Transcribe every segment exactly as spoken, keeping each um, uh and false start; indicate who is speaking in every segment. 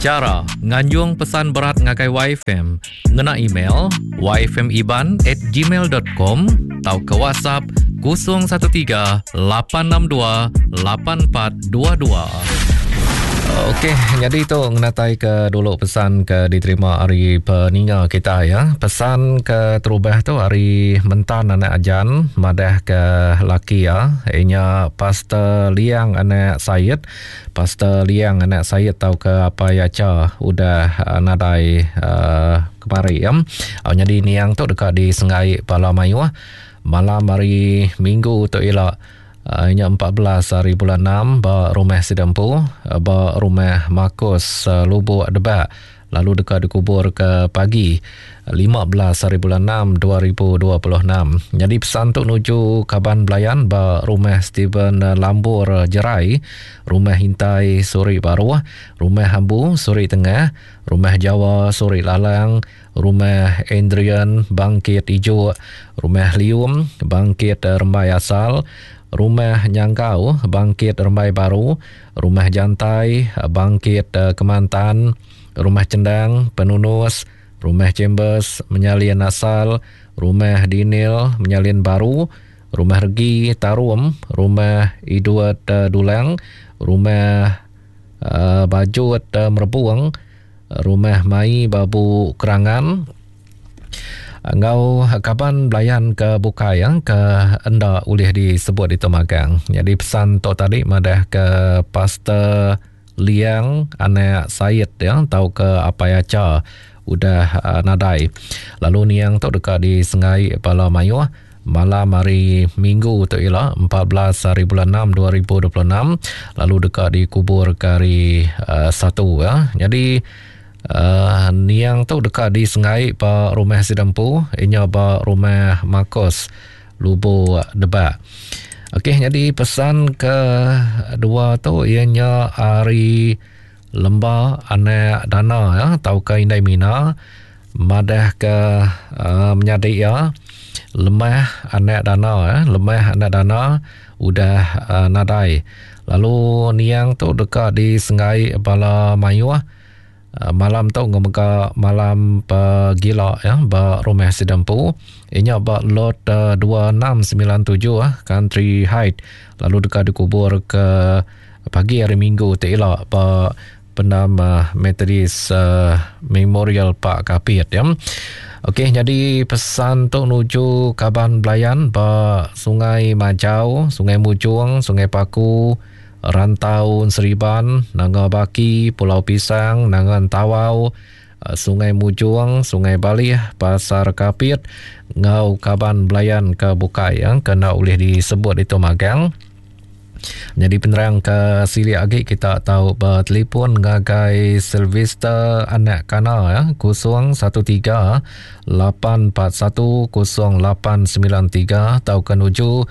Speaker 1: Chara nganjung pesan berat ngagai Y F M ngena email y f m iban at gmail dot com tau ke WhatsApp kosong satu tiga lapan enam dua lapan empat dua dua. Okey, jadi tu ngenatai ke dulu pesan ke diterima hari peninga kita ya. Pesan ke terubah tu hari mentan anak ajan madah ke laki ya, inya Pastor Liang anak Said. Pastor Liang anak Said tau ke apa ya ca udah uh, nadai uh, kemari ya. Oh, jadi niang tu dekat di Sengai Pala Mayuh malam hari Minggu tu ila. Uh, inya empat belas hari bulan enam ba rumah Sidempu, ba rumah Marcos uh, Lubuk Debak, lalu dekat dikubur ke pagi lima belas hari bulan enam dua ribu dua puluh enam. Jadi pesan tu nuju kaban belayan ba rumah Steven Lambur Jerai, rumah Hintai Suri Baruh, rumah Hambu Suri Tengah, rumah Jawa Suri Lalang, rumah Andrian Bangkit Ijuk, rumah Lium Bangkit Rembai Asal, rumah Nyangkau Bangkit Rembai Baru, rumah Jantai Bangkit Kemantan, rumah Cendang Penunus, rumah Chambers Menyalin Asal, rumah Dinil Menyalin Baru, rumah Regi Tarum, rumah Idwat Dulang, rumah uh, Bajut uh, Merbuang, rumah Mai Babu Kerangan. Ngau kaban belayan ke bukai yang ke enda boleh disebut di Temagang. Jadi pesan tu tadi madah ke Pastor Liang anak Said yang tahu ke apa ya ca udah uh, nadai. Lalu niang tu dekat di Sengai Pala Mayuh malam hari Minggu tu ialah empat belas hari bulan enam dua ribu dua puluh enam, lalu dekat dikubur ke hari uh, satu ya. Jadi Uh, niang tu dekat di Sengai ba rumah Sidempu, inya ba rumah Marcos Lubuk Debak. Okey, jadi pesan ke dua tu ianya hari Lemba anak Dana ya, tau ke Indai Mina madah ke uh, menyadik ya Lemah anak Dana ya, Lemah anak Dana udah uh, nadai. Lalu niang tu dekat di Sengai Bala Mayuh. Uh, malam tu ngemega malam pegila ya ba rumah Sidempu, inya ba lot uh, dua enam sembilan tujuh ah Country Height, lalu dekat dikubur ke pagi hari Minggu tu ila ba pendam uh, Methodist uh, Memorial Park Kapit ya. Okey, jadi pesan tu nuju kaban belayan ba Sungai Majau, Sungai Mujung, Sungai Paku, Rantau Seriban, Nanga Baki, Pulau Pisang, Nanga Tawau, Sungai Mujung, Sungai Balih, Pasar Kapit, ngau kaban belayan ke bukai yang kena boleh disebut itu magang. Jadi penerang ke sili agi kita tahu bertelefon ngagai Sylvester anak Kana ya kosong satu tiga lapan empat satu kosong lapan sembilan tiga atau ke nuju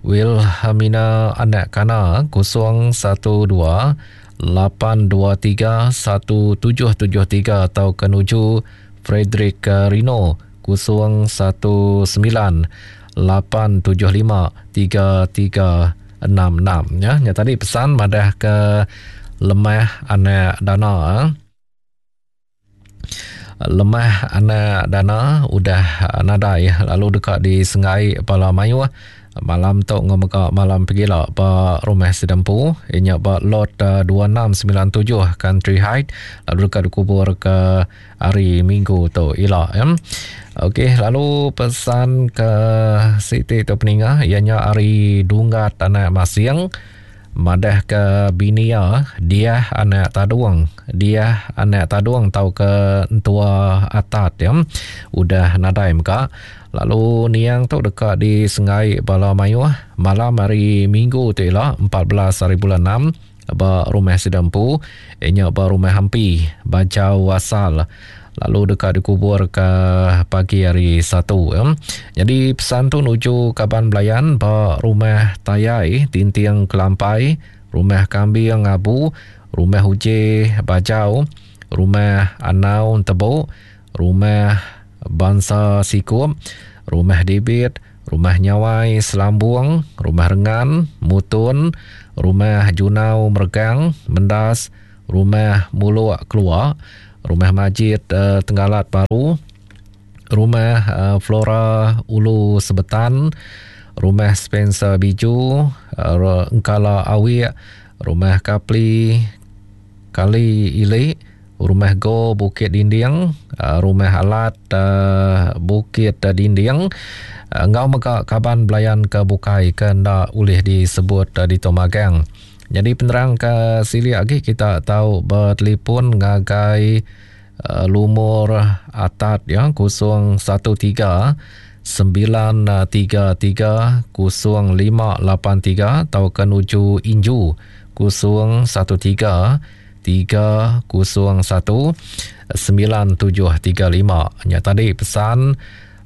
Speaker 1: Wilhelmina anak Kana kosong satu dua lapan dua tiga satu tujuh tujuh tiga atau ke nuju Frederick Rino kosong satu sembilan lapan tujuh lima tiga tiga enam enam ya. Nya tadi pesan madah ke Lemah anak Dana. Lemah anak Dana udah nadai lalu dekat di Sengai Pala Mayuh malam tu ngemega malam pegila ba rumah Sidempu, inya ba lot uh, dua enam sembilan tujuh Country Height, lalu dekat dikubur ke hari Minggu tu ila ya. Okey, lalu pesan ke Siti tu peninga ianya hari Dunggat anak Masing madah ke binia dia anak Tadung, dia anak Tadung tau ke entua atat ya udah nadai meka. Lalu niang tu dekat di Sengai Bala Mayuh malam hari Minggu tu ialah empat belas hari bulan enam ba rumah Sidempu, inya ba rumah Hampi Bajau Asal, lalu dekat dikubur ke pagi hari Satu ya. Jadi pesan tu nuju kaban belayan ba rumah Tayai Tinting Kelampai, rumah Kambing Abu, rumah Uje Bajau, rumah Anau Tebuk, rumah Bangsa Sikup, rumah Debit, rumah Nyawai Selambung, rumah Rengan Mutun, rumah Junau Mergang Mendas, Rumah Muluk Keluak, Rumah Majid uh, Tenggalat Baru, Rumah uh, Flora Ulu Sebetan, Rumah Spencer Biju, uh, Engkala Awik, Rumah Kapli Kali Ilik, Rumah Go Bukit Dinding, uh, Rumah Alat uh, Bukit Dinding, uh, ngau mega kaban belayan ke bukai ke nda ulih disebut uh, di Tomagang. Jadi penerang ke sili lagi kita tahu bertelefon ngagai uh, lumur atat ya kosong satu tiga sembilan tiga tiga kosong lima lapan tiga atau ke nuju Inju kosong satu tiga tiga kosong satu sembilan tujuh tiga lima. Nya tadi pesan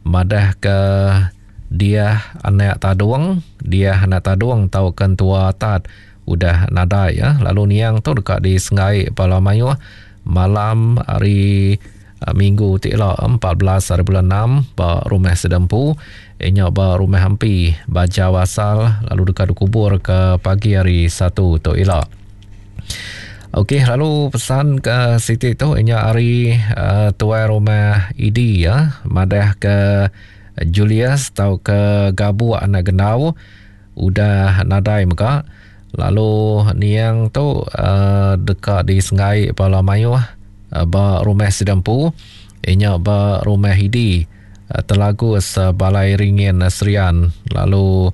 Speaker 1: madah ke dia anak tadung, dia anak tadung tau kentua atat udah nadai ya. Lalu niang tu dekat di Sengai Pala Mayuh malam hari Minggu ti la empat belas hari bulan enam ba rumah Sedempu, inya ba rumah Hampi Bajau Asal, lalu dekat dikubur ke pagi hari Satu tu ila. Okey, lalu pesan ke Siti tu inya hari uh, tuai rumah Idi ya, madah ke Julius tau ke Gabu anak Genau udah nadai mega. Lalu niang tu uh, dekat di Sengai Pala Mayuh uh, ba rumah Sedempu, inya ba rumah Hidi uh, Telagus uh, Balai Ringin uh, Serian. Lalu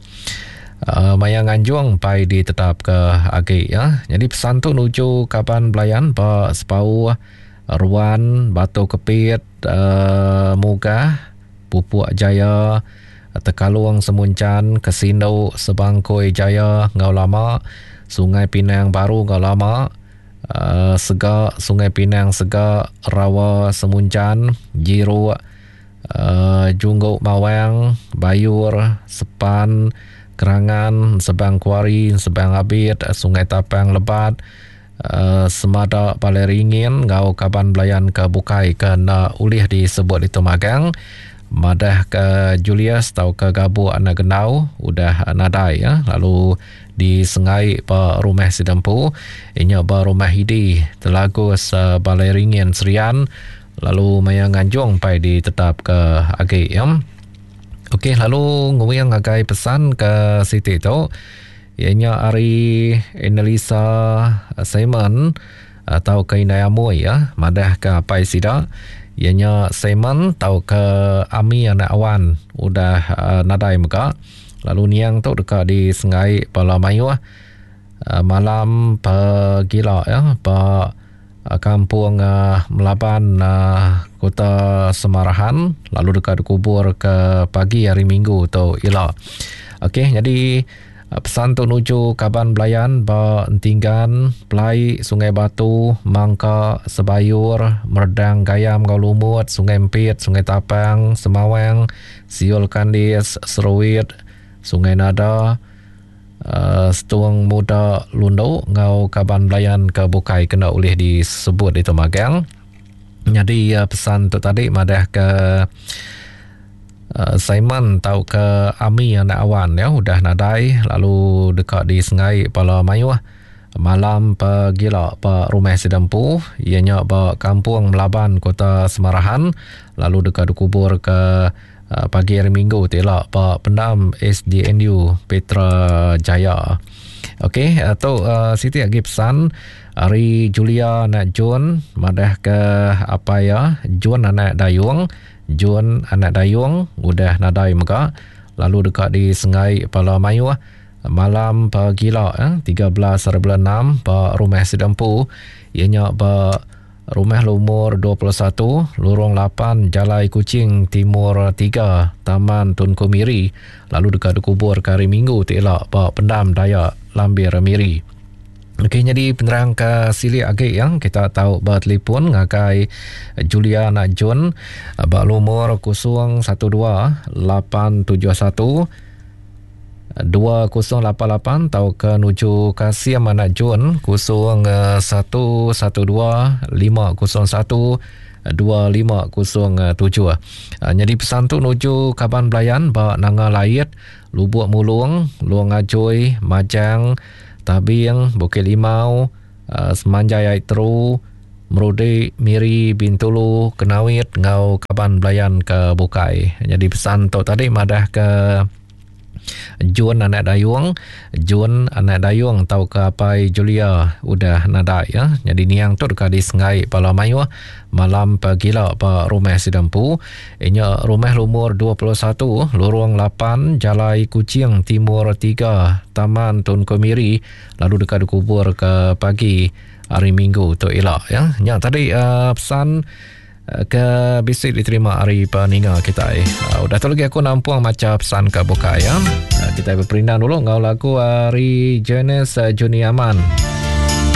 Speaker 1: uh, maya nganjung pai ditetap ke agi ya. Jadi pesan tu nuju kaban belayan ba Sepau, Ruan, Batu Kepit, uh, Mugah, Pupuk Jaya, Tekalung Semuncan, Kesindo, Sebangkoi Jaya, Ngau Lama, Sungai Pinang Baru Ngau Lama, uh, Segak, Sungai Pinang Segak, Rawa Semuncan, Jiruk, uh, Junggok Mawang, Bayur, Sepan, Kerangan, Sebang Kuari, Sebang Abid, Sungai Tapang Lebat, uh, Semada Balai Ringin, Ngau Kaban Belayan ke Bukai ke nak ulih disebut di Temagang. Madah ke Julius tau ke Gabu anak Genau udah nadai ya. Lalu di Sengai ba rumah Sidempu, inya ba rumah Hidi Telagus uh, Balai Ringin Serian. Lalu maya nganjung pai ditetap ke agi ya. Okey, lalu nguyang ngagai pesan ke Siti tu ianya ari Annalisa Simon atau ke Indai Amoi ya, madah ke apai sida ianya Simon tau ke Ami anak Awan udah uh, nadai mega. Lalu niang tu dekat di Sengai Pala Mayuh uh, malam pegila ya, ba uh, kampung uh, Melaban uh, Kota Semarahan, lalu dekat dikubur ke pagi hari Minggu tu ila. Okey, jadi pesan tu nuju kaban belayan ba Entinggan, Pelai, Sungai Batu, Mangka, Sebayur, Merdang, Gayam, Ngau Lumut, Sungai Empit, Sungai Tapang, Semawang, Siul Kandis, Seruit, Sungai Nada, uh, Setuang Muda Lundo, Ngau kaban belayan ke Bukai kena ulih disebut di Temagang. Jadi uh, pesan tu tadi madah ke Uh, Simon tau ke Ami anak Awan ya udah nadai, lalu dekat di Sengai Pala Mayuh malam pegila ba rumah Sidempu, ianya ba kampung Melaban Kota Semarahan, lalu dekat dikubur ke uh, pagi hari Minggu tila ba pendam S D N U Petra Jaya. Okey, atau uh, Siti lagi pesan hari Julia anak Jun madah ke apa ya, Jun anak Dayung, Jun anak Dayung udah nadai mega, lalu dekat di Sengai Pala Mayuh malam pagila eh, tiga belas hari bulan enam ba rumah Sidempu, ianya ba rumah lumur dua puluh satu Lorong lapan Jalai Kuching Timur tiga Taman Tunku Miri, lalu dekat dikubur ke hari Minggu ti elak ba pendam Dayak Lambir Miri. Okey, jadi penerang ke silik agi yang kita tahu bertelefon ngagai Julia anak Jun ba lumur kosong satu dua lapan tujuh satu dua kosong lapan lapan atau ke nuju Kasim anak Jun kosong satu satu dua lima kosong satu dua lima kosong tujuh. Jadi pesan tu nuju kaban belayan ba Nanga Lait, Lubuk Mulung, Luang Ajoi, Majang, Tabing, Bukit Limau, uh, Semanjai Ai Teru, Merudi, Miri, Bintulu, Kenawit ngau kaban belayan ke bukai. Jadi pesan tu tadi madah ke Jun anak dayung, Jun anak dayung tau ke apai Julia udah nadai ya. Jadi niang tu dekat di Sengai Pala Mayuh malam pagila ba rumah Sidampu. Inya rumah lumur dua puluh satu, lorong lapan, Jalai Kuching Timur tiga, Taman Tun Komiri, lalu dekat dikubur ke pagi hari Minggu tu elak ya. Nya tadi uh, pesan ke bisi diterima hari peninga kita. Uh, udah tu lagi aku nampung maca pesan ke buka ya. Uh, kita berperindang dulu ngau lagu hari Jenis uh, Juni Aman.